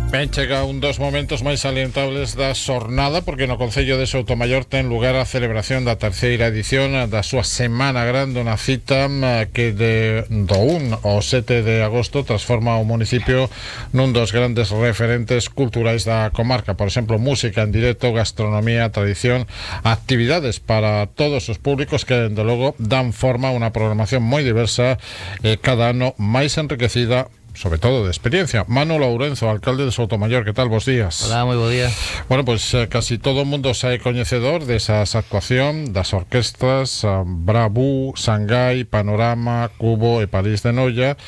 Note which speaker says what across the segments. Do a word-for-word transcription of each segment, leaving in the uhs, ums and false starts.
Speaker 1: Ben chega un dos momentos máis salientables da xornada, porque no Concello de Soutomaior ten lugar a celebración da terceira edición da súa Semana Grande, unha cita que de do un ao sete de agosto transforma o municipio nun dos grandes referentes culturais da comarca. Por exemplo, música en directo, gastronomía, tradición, actividades para todos os públicos que, dende logo, dan forma a unha programación moi diversa e cada ano máis enriquecida, sobre todo de experiencia. Manu Lourenzo, alcalde de Soutomaior, que tal? Bos días.
Speaker 2: Hola, moi bo día.
Speaker 1: Bueno, pois pues, eh, casi todo o mundo sae coñecedor desas actuación das orquestas uh, Bravú, Shanghai, Panorama, Cubo e París de Noia,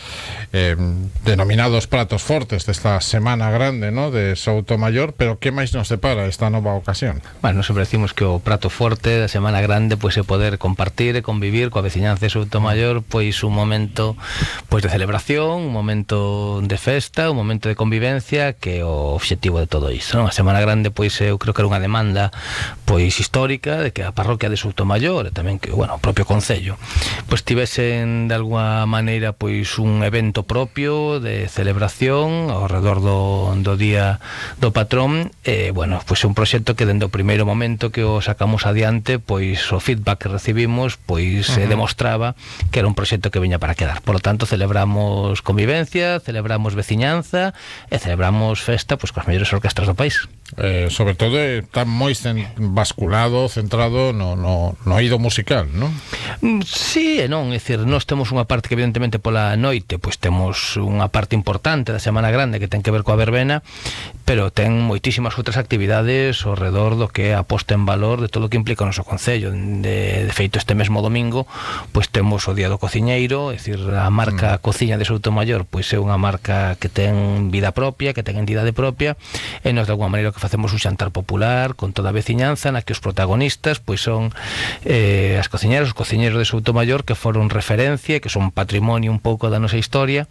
Speaker 1: eh, denominados pratos fortes desta Semana Grande, ¿no?, de Soutomaior. Pero que máis nos depara esta nova ocasión?
Speaker 2: Bueno, sempre decimos que o prato forte da Semana Grande pois é poder compartir e convivir coa veciñanza de Soutomaior, pois un momento pois de celebración, un momento de festa, un momento de convivencia, que é o obxectivo de todo isto, non? A Semana Grande, pois eu creo que era unha demanda pois histórica de que a parroquia de Soutomaior e tamén que, bueno, o propio concello pois tivesen de alguna maneira pois un evento propio de celebración ao redor do, do día do patrón. E, bueno, pois é un proxecto que dende o primeiro momento que o sacamos adiante, pois o feedback que recibimos pois uh-huh. eh, demostraba que era un proxecto que viña para quedar. Por lo tanto, celebramos convivencia, celebramos veciñanza e celebramos festa pois coas mellores orquestras do país.
Speaker 1: Eh, sobre todo está moi basculado, centrado no, no, no oído musical, non?
Speaker 2: Sí e non, é dicir, nós temos unha parte que evidentemente pola noite pois temos unha parte importante da Semana Grande que ten que ver coa verbena, pero ten moitísimas outras actividades ao redor do que é a posta en valor de todo o que implica o noso concello. De, de feito, este mesmo domingo pois temos o Día do Cociñeiro, é dicir, a marca mm. Cociña de Soutomaior pois é unha marca que ten vida propia, que ten entidade propia, e nós de alguma maneira que facemos un xantar popular con toda a veciñanza, na que os protagonistas pois son eh, as cociñeras, os cociñeros de Soutomaior, que foron referencia, que son patrimonio un pouco da nosa historia,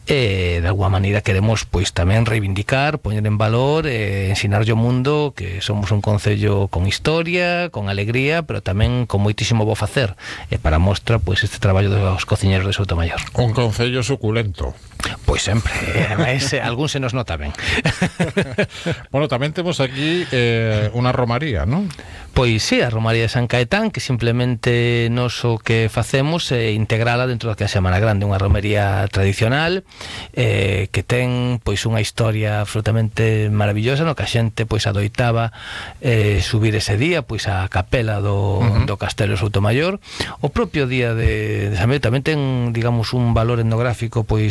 Speaker 2: e de alguma maneira queremos pois tamén reivindicar, poñer en valor e ensinarlle ao mundo que somos un concello con historia, con alegría, pero tamén con moitísimo bo facer, e para mostra pois este traballo dos cociñeros de Soutomaior.
Speaker 1: Un concello suculento.
Speaker 2: Pois sempre, ese, algún se nos nota ben.
Speaker 1: Bueno, tamén temos aquí eh, unha romaría, non?
Speaker 2: Pois sí, a Romaría de San Caetán, que simplemente nos o que facemos é integrala dentro da que é a Semana Grande, unha romería tradicional eh, que ten pois unha historia absolutamente maravillosa, no que a xente pois adoitaba eh, subir ese día pois a capela do, uh-huh. do Castelo de Soutomaior. O propio día de, de San Miguel tamén ten, digamos, un valor etnográfico pois